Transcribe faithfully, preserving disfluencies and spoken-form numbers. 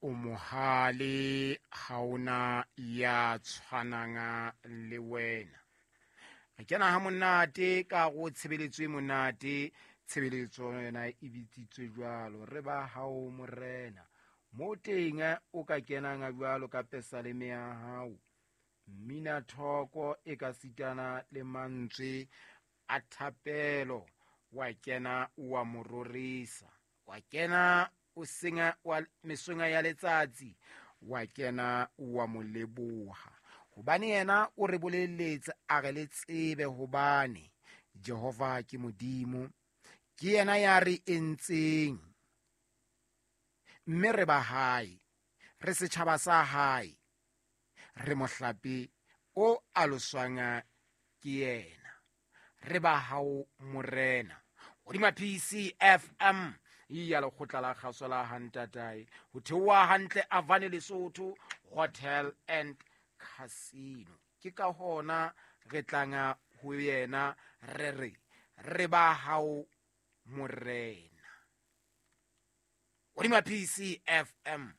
O mohale, ha ona ya tshwanang le wena. Re kena ha monate ka go tshebeletso e monate, tshebeletso yona e bitsitswe jwalo, re ba hao morena. Mo teng o ka kenang jwalo ka pesaleme ya hao, mmina thoko e ka sitana le mantswe a thapelo, wa kena wa mo rorisa, wa kena o senga wa mesonga ya letsatsi, wa kena wa mo leboha. Hobane yena o re boleletse a re le tsebe hobane Jehova ke Modimo, ke yena ya re entseng, mme re ba hae, re setjhaba sa hae, re mohlape o aloswang ke yena. Re ba hao morena. Hodima P C F M ya lekgotla la kgaso la Hantatae, ho theoha hantle Avane Lesotho Hotel and Casino. Ke ka hona re tlanga ho yena re re re ba hao morena. Hodima P C F M.